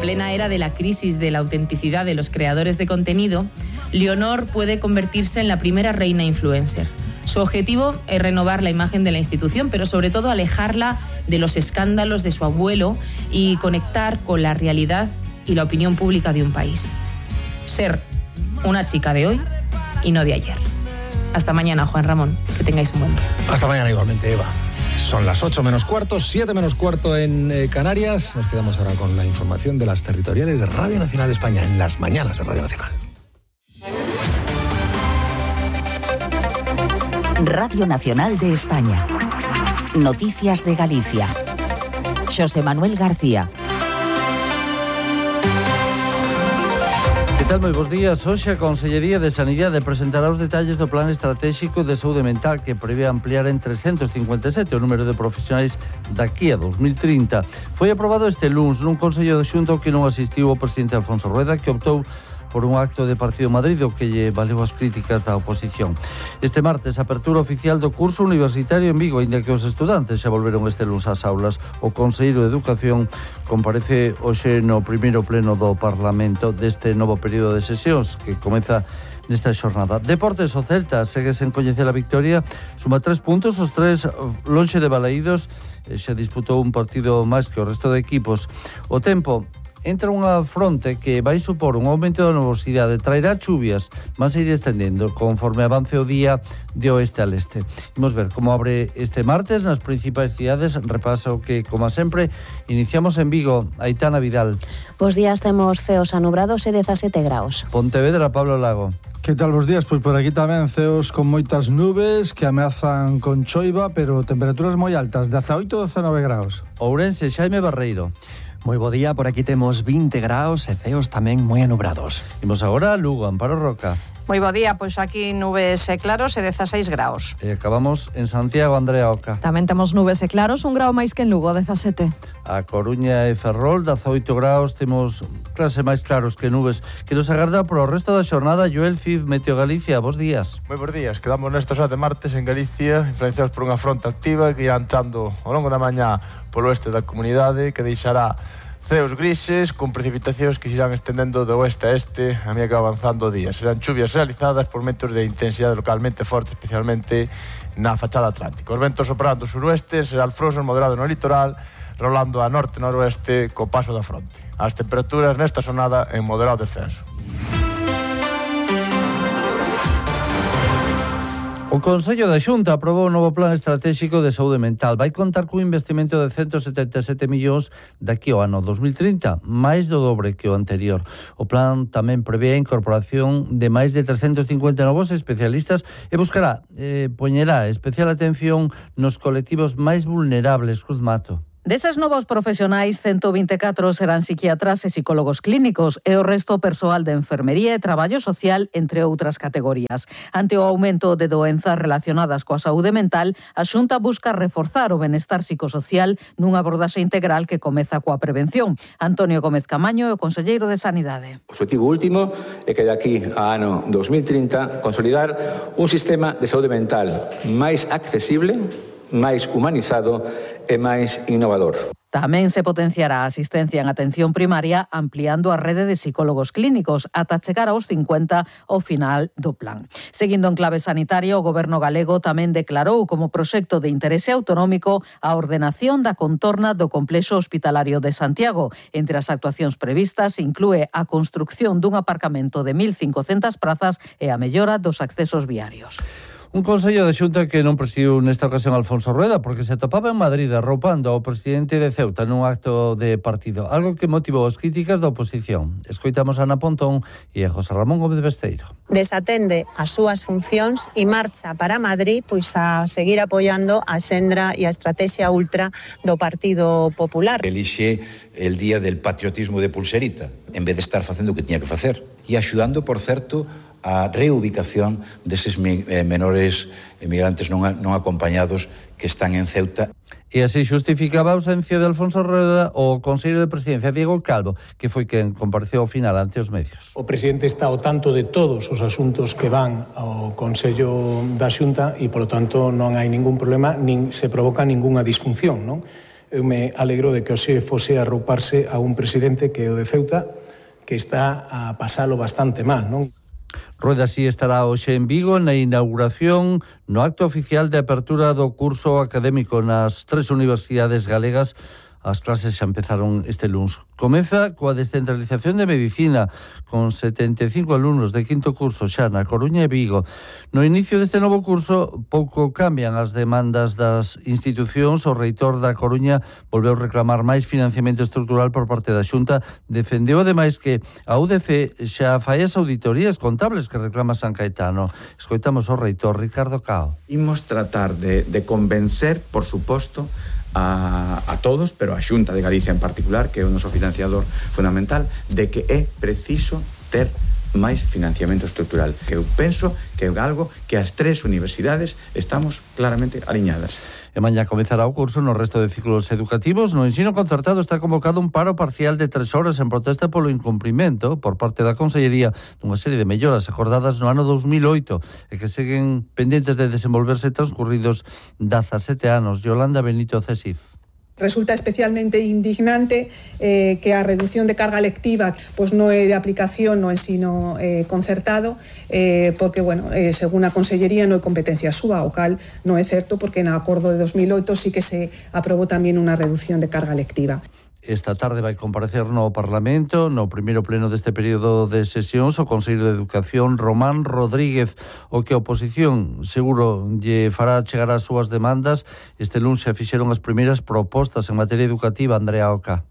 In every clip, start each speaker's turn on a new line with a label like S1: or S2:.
S1: plena era de la crisis de la autenticidad de los creadores de contenido, Leonor puede convertirse en la primera reina influencer. Su objetivo es renovar la imagen de la institución, pero sobre todo alejarla de los escándalos de su abuelo y conectar con la realidad y la opinión pública de un país. Ser una chica de hoy y no de ayer. Hasta mañana, Juan Ramón. Que tengáis un buen día.
S2: Hasta mañana igualmente, Eva. Son las 8 menos cuarto, 7 menos cuarto en Canarias. Nos quedamos ahora con la información de las territoriales de Radio Nacional de España, en las mañanas de Radio Nacional.
S3: Radio Nacional de España. Noticias de Galicia. Xosé Manuel García.
S4: Que tal, moi bons días. Hoxe a Consellería de Sanidade presentará os detalles do Plan Estratégico de Saúde Mental que prevé ampliar en 357 o número de profesionais daqui a 2030. Foi aprobado este luns nun Consello de Xunta que non asistiu o presidente Alfonso Rueda, que optou por un acto de Partido Madrid o que lle valeu as críticas da oposición. Este martes, apertura oficial do curso universitario en Vigo, inda que os estudantes xa volveron este luns ás aulas. O Conselleiro de Educación comparece hoxe no primeiro pleno do Parlamento deste novo período de sesións que comeza nesta xornada. Deportes, o Celta segue sen coñecer a victoria, suma 3 puntos, os 3 lonxe de Balaídos, xa disputou un partido máis que o resto de equipos. O tempo entra unha fronte que vai supor un aumento da nubosidade, traerá chuvias, mas ir estendendo conforme avance o día de oeste al este. Imos ver como abre este martes nas principais cidades. Repaso que, como sempre, iniciamos en Vigo. Aitana Vidal.
S5: Bos días, temos ceos anubrados e 17 graus.
S4: Pontevedra, Pablo Lago.
S6: Que tal os días? Pois por aquí tamén ceos con moitas nubes que ameazan con choiva, pero temperaturas moi altas, 18-19 graus.
S4: Ourense, Xaime Barreiro.
S7: Moi bo día, por aquí temos 20 graus e ceos tamén moi anubrados.
S4: Imos agora a Lugo, Amparo Roca.
S8: Moi bo día, pois aquí nubes e claros e 16 graus.
S4: E acabamos en Santiago, Andrea Oca.
S9: Tamén temos nubes e claros, un grau máis que en Lugo, 17.
S4: A Coruña e Ferrol, 18 graus, temos clase máis claros que nubes, que nos agarda por o resto da xornada. Joel Cid, Meteo Galicia, bos días.
S10: Moi bons días, quedamos nestas horas de martes en Galicia, influenciados por unha fronte activa que irá entrando ao longo da mañá polo oeste da comunidade, que deixará ceos grises con precipitacións que se irán estendendo de oeste a este a medida que va avanzando o día. Serán chuvias realizadas por ventos de intensidade localmente forte, especialmente na fachada atlántica. Os ventos soprando suroeste, será alfroso moderado no litoral, rolando a norte-noroeste co paso da fronte. As temperaturas nesta xornada en moderado descenso.
S4: O Consello da Xunta aprobou un novo plan estratégico de saúde mental. Vai contar cun investimento de 177 millóns daqui ao ano 2030, máis do dobre que o anterior. O plan tamén prevé a incorporación de máis de 350 novos especialistas e buscará, poñerá especial atención nos colectivos máis vulnerables. Cruz Mato.
S11: Deses novos profesionais, 124 serán psiquiatras e psicólogos clínicos e o resto persoal de enfermería e traballo social, entre outras categorías. Ante o aumento de doenzas relacionadas coa saúde mental, a Xunta busca reforzar o benestar psicosocial nunha abordaxe integral que comeza coa prevención. Antonio Gómez Camaño é o conselleiro de Sanidade.
S12: O objetivo último é que de aquí a ano 2030 consolidar un sistema de saúde mental máis accesible, máis humanizado e máis innovador.
S11: Tamén se potenciará a asistencia en atención primaria ampliando a rede de psicólogos clínicos ata chegar aos 50 ao final do plan. Seguindo en clave sanitaria, o Goberno galego tamén declarou como proxecto de interese autonómico a ordenación da contorna do complexo hospitalario de Santiago. Entre as actuacións previstas inclúe a construcción dun aparcamento de 1.500 prazas e a mellora dos accesos viarios.
S4: Un Consello de Xunta que non presidiu nesta ocasión Alfonso Rueda porque se atopaba en Madrid arroupando ao presidente de Ceuta nun acto de partido, algo que motivou as críticas da oposición. Escoitamos a Ana Pontón e a José Ramón Gómez Besteiro.
S13: Desatende as súas funcións e marcha para Madrid pois a seguir apoiando a xendra e a estrategia ultra do Partido Popular.
S14: Elixe el día del patriotismo de pulserita, en vez de estar facendo o que tiña que facer. E axudando, por certo, a reubicación deses menores emigrantes non acompañados que están en Ceuta.
S4: E así justificaba a ausencia de Alfonso Rueda o conselleiro de Presidencia, Diego Calvo, que foi quen compareceu ao final ante os medios.
S15: O presidente está ao tanto de todos os asuntos que van ao Consello da Xunta e, polo tanto, non hai ningún problema, nin se provoca ningunha disfunción, non? eu me alegro de que hoxe fose arrouparse a un presidente que é o de Ceuta, que está a pasalo bastante mal, non?
S4: Rueda así estará hoxe en Vigo na inauguración no acto oficial de apertura do curso académico nas 3 universidades galegas. As clases xa empezaron este luns. Comeza coa descentralización de medicina, con 75 alumnos de quinto curso xa na Coruña e Vigo. No inicio deste novo curso, pouco cambian as demandas das institucións. O reitor da Coruña volveu reclamar máis financiamento estrutural por parte da Xunta. Defendeu ademais que a UDC xa fai as auditorías contables que reclama San Caetano. Escoitamos o reitor Ricardo Cao.
S16: Imos tratar de convencer, por suposto, a todos, pero a Xunta de Galicia en particular, que é o noso financiador fundamental, de que é preciso ter máis financiamento estrutural. Que eu penso que é algo que as 3 universidades estamos claramente aliñadas.
S4: E mañá comezará o curso no resto de ciclos educativos. No ensino concertado está convocado un paro parcial de 3 horas en protesta polo incumprimento por parte da Consellería dunha serie de melloras acordadas no ano 2008 e que seguen pendentes de desenvolverse transcurridos 17 anos. Yolanda Benito Cesif.
S17: Resulta especialmente indignante que a reducción de carga lectiva pois non é de aplicación no ensino concertado, porque, según a Consellería non é competencia súa, o cal non é certo, porque no acordo de 2008 sí que se aprobou tamén unha reducción de carga lectiva.
S4: Esta tarde vai comparecer no Parlamento, no primeiro pleno deste período de sesións, o Consello de Educación, Román Rodríguez, o que a oposición seguro lle fará chegar as súas demandas. Este luns se fixeron as primeiras propostas en materia educativa. Andrea Oca.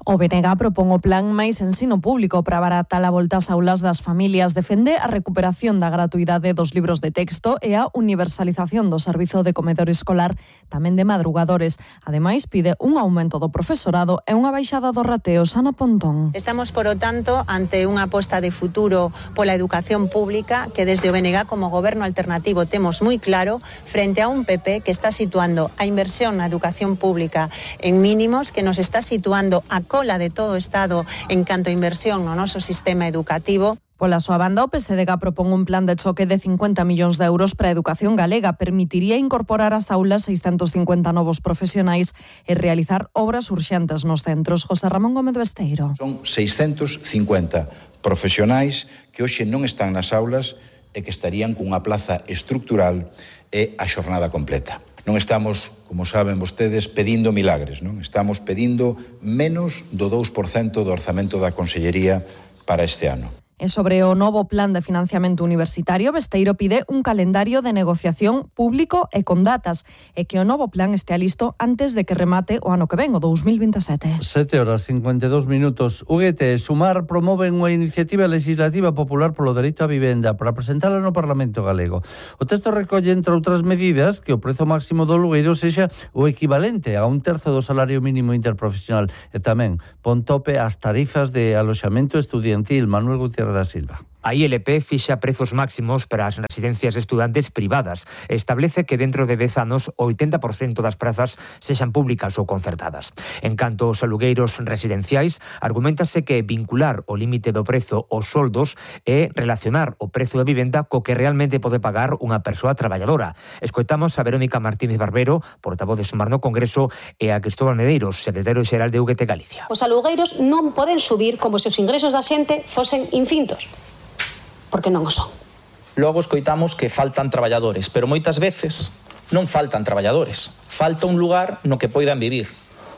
S9: O BNG propón o plan máis ensino público para abaratar a volta ás aulas das familias. Defende a recuperación da gratuidade dos libros de texto e a universalización do servizo de comedor escolar, tamén de madrugadores. Ademais, pide un aumento do profesorado e unha baixada dos rateos. Ana Pontón.
S13: Estamos, por lo tanto, ante unha aposta de futuro pola educación pública que desde o BNG como goberno alternativo temos moi claro frente a un PP que está situando a inversión na educación pública en mínimos, que nos está situando a cola de todo o Estado en canto a inversión no noso sistema educativo.
S9: Pola súa banda, o PSDG propón un plan de choque de 50 millóns de euros para a educación galega. Permitiría incorporar ás aulas 650 novos profesionais e realizar obras urxentes nos centros. José Ramón Gómez Besteiro.
S14: Son 650 profesionais que hoxe non están nas aulas e que estarían cunha plaza estructural e a xornada completa. Non estamos, como saben vostedes, pedindo milagres, non? Estamos pedindo menos do 2% do orzamento da Consellería para este ano.
S9: E sobre o novo plan de financiamento universitario, Besteiro pide un calendario de negociación público e con datas, e que o novo plan estea listo antes de que remate o ano que ven, o 2027.
S4: 7:52. UGT e Sumar promoven unha iniciativa legislativa popular polo dereito á vivenda para presentala no Parlamento galego. O texto recolle, entre outras medidas, que o prezo máximo do alugueiro sexa o equivalente a 1/3 do salario mínimo interprofesional e tamén pon tope ás tarifas de aloxamento estudiantil. Manuel Gutiérrez da Silva.
S18: A ILP fixa prezos máximos para as residencias de estudantes privadas. Establece que dentro de 10 anos o 80% das prazas sexan públicas ou concertadas. En canto aos alugueiros residenciais, argumentase que vincular o límite do prezo aos soldos é relacionar o prezo da vivenda co que realmente pode pagar unha persoa traballadora. Escoitamos a Verónica Martínez Barbero, portavoz de Sumar no Congreso, e a Cristóbal Medeiros, secretario xeral de UGT Galicia.
S19: Os alugueiros non poden subir como se os ingresos da xente fosen infintos, porque non o son.
S20: Logo escoitamos que faltan traballadores, pero moitas veces non faltan traballadores. Falta un lugar no que poidan vivir.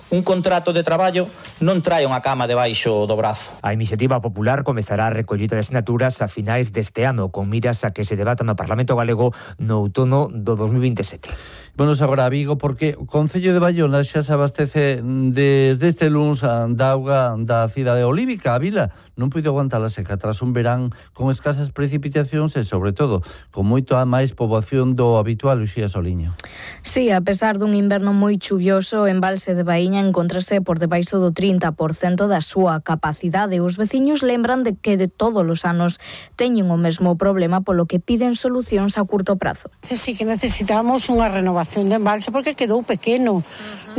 S20: Un contrato de traballo non trae unha cama debaixo do brazo.
S18: A iniciativa popular comezará a recollida de asinaturas a finais deste ano, con miras a que se debata no Parlamento galego no outono do 2027.
S4: Vamos agora a Vigo, porque o Concello de Baiona xa se abastece desde este luns da auga da cidade olívica. A vila non puido aguantar a seca tras un verán con escasas precipitacións e, sobre todo, con moito a máis poboación do habitual Uxía Soliño.
S21: Sí, a pesar dun inverno moi chuvioso, o embalse de Baíña encontrase por debaixo do 30% da súa capacidade. Os veciños lembran de que de todos os anos teñen o mesmo problema, polo que piden solucións a curto prazo.
S22: Sí que necesitamos unha renovación de embalse porque quedou pequeno.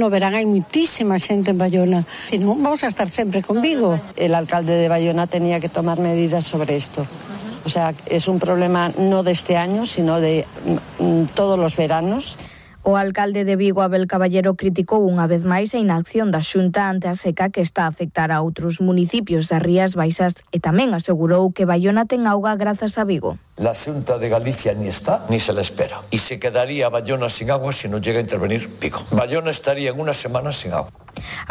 S22: No verán hai muitísima xente en Baiona. Si non, vamos a estar sempre con Vigo.
S23: El alcalde de Baiona tenía que tomar medidas sobre esto. O sea, es un problema no de este año, sino de todos los veranos.
S21: O alcalde de Vigo, Abel Caballero, criticou unha vez máis a inacción da Xunta ante a seca que está a afectar a outros municipios das Rías Baixas e tamén asegurou que Baiona ten auga grazas a Vigo.
S1: La Xunta de Galicia ni está ni se la espera. Y se quedaría Baiona sin agua si no llega a intervenir Vigo. Baiona estaría en una semana sin agua.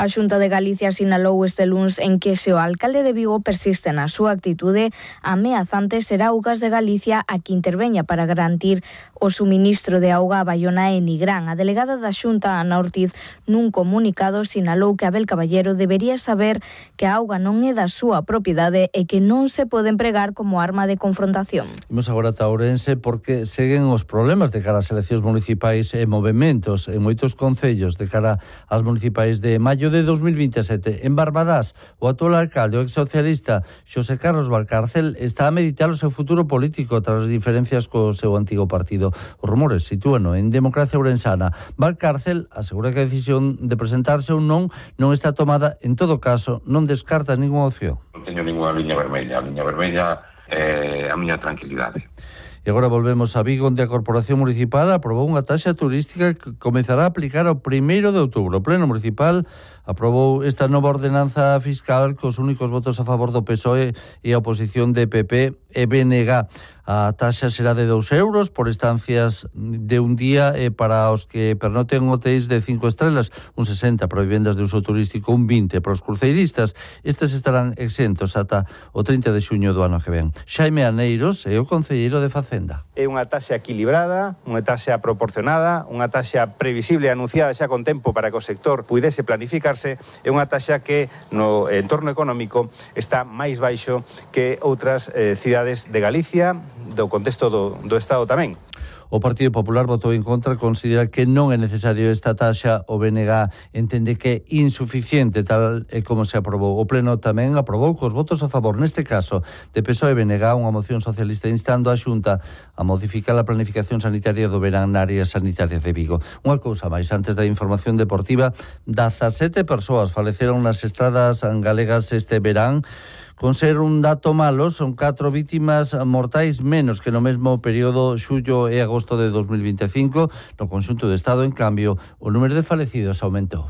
S21: A Xunta de Galicia sinalou este luns en que se o alcalde de Vigo persiste na súa actitude ameazante, será Augas de Galicia a que interveña para garantir o suministro de auga a Baiona e Nigrán. A delegada da Xunta, Ana Ortiz, nun comunicado sinalou que Abel Caballero debería saber que a auga non é da súa propiedade e que non se pode empregar como arma de confrontación.
S4: Imos agora a Ourense porque seguen os problemas de cara ás eleccións municipais e movementos en moitos concellos de cara ás municipais de maio de 2027. En Barbadás, o actual alcalde, o ex-socialista Xosé Carlos Valcárcel, está a meditar o seu futuro político tras as diferencias co seu antigo partido. Os rumores sitúano en Democracia Ourensana. Valcárcel asegura que a decisión de presentarse ou non está tomada. En todo caso, non descarta ninguna opción.
S2: Non teño ninguna liña vermella. A liña vermella é a miña tranquilidade.
S4: E agora volvemos a Vigo, onde a Corporación Municipal aprobou unha taxa turística que comezará a aplicar o 1º de outubro. O Pleno Municipal aprobou esta nova ordenanza fiscal cos únicos votos a favor do PSOE e a oposición de PP e BNG. A taxa será de 2 euros por estancias de un día e para os que pernoten hotéis de 5 estrelas, un 60 para vivendas de uso turístico, un 20 para os cruceiristas. Estes estarán exentos ata o 30 de xuño do ano que ven. Xaime Aneiros é o concelleiro de Facenda.
S3: É unha taxa equilibrada, unha taxa proporcionada, unha taxa previsible e anunciada xa con tempo para que o sector pudese planificarse, é unha taxa que no entorno económico está máis baixo que outras cidades de Galicia, do contexto do Estado tamén.
S4: O Partido Popular votou en contra, considera que non é necesario esta taxa. O BNG entende que é insuficiente tal e como se aprobou. O Pleno tamén aprobou cos votos a favor, neste caso, de PSOE e BNG, unha moción socialista instando a Xunta a modificar a planificación sanitaria do verán na área sanitaria de Vigo. Unha cousa máis, antes da información deportiva, 17 persoas faleceron nas estradas galegas este verán. Con ser un dato malo, son 4 vítimas mortais menos que no mesmo período xullo e agosto de 2025. No conxunto do Estado, en cambio, o número de falecidos aumentou.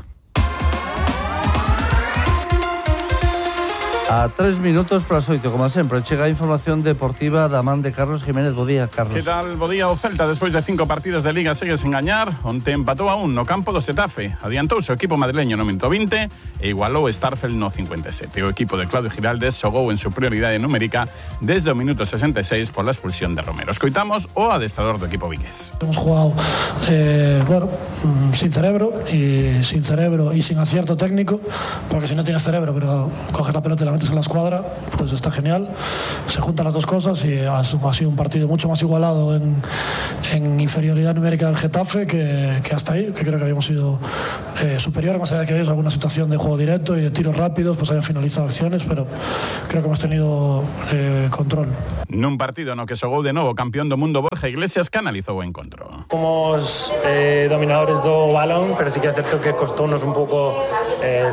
S4: A 3 minutos para as 8, como sempre, chega a información deportiva da man de Carlos Jiménez. Bo día, Carlos.
S24: Que tal? Bo día. O Celta, despois de 5 partidos de Liga, segue sen gañar. Onte empatou a 1 no campo do Xetafe. Adiantouse o equipo madrileño no minuto 20 e igualou Starfel no 57. O equipo de Claudio Giraldes xogou en superioridade numérica desde o minuto 66 pola expulsión de Romero. Escoitamos o adestrador do equipo vigués.
S25: Hemos jugado sin cerebro y sin acierto técnico, porque si no tienes cerebro pero coges la pelota y la metes en la escuadra, pues está genial. Se juntan las dos cosas y ha sido un partido mucho más igualado en inferioridad numérica del Getafe que hasta ahí, que creo que habíamos sido superiores, más allá de que hay alguna situación de juego directo y de tiros rápidos, pues hayan finalizado acciones, pero creo que hemos tenido control.
S24: Nun partido no que xogou de novo campeón do mundo Borja Iglesias, que analizou o encontro.
S26: Somos dominadores do balón, pero sí que é certo que costounos un pouco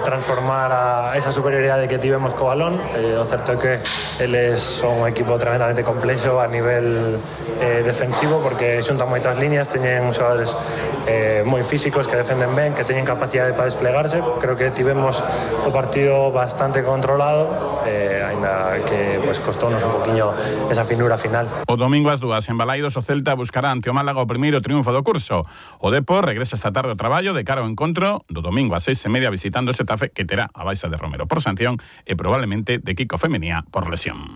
S26: transformar a esa superioridade que tivemos co balón. O certo é que eles son un equipo tremendamente complexo a nivel defensivo, porque xuntan moitas líneas, teñen xogadores moi físicos que defenden ben, que teñen capacidade para desplegarse. Creo que tivemos o partido bastante controlado, aínda que pues, costounos un poquinho esa finura final.
S24: O domingo ás 2 en Balaidos o Celta buscará ante o Málaga o primeiro triunfo do curso. O Depor regresa esta tarde ao traballo de cara ao encontro do domingo ás 6:30 visitando o Xetafe, que terá a baixa de Romero por sanción e probablemente de Kiko Femenía por lesión.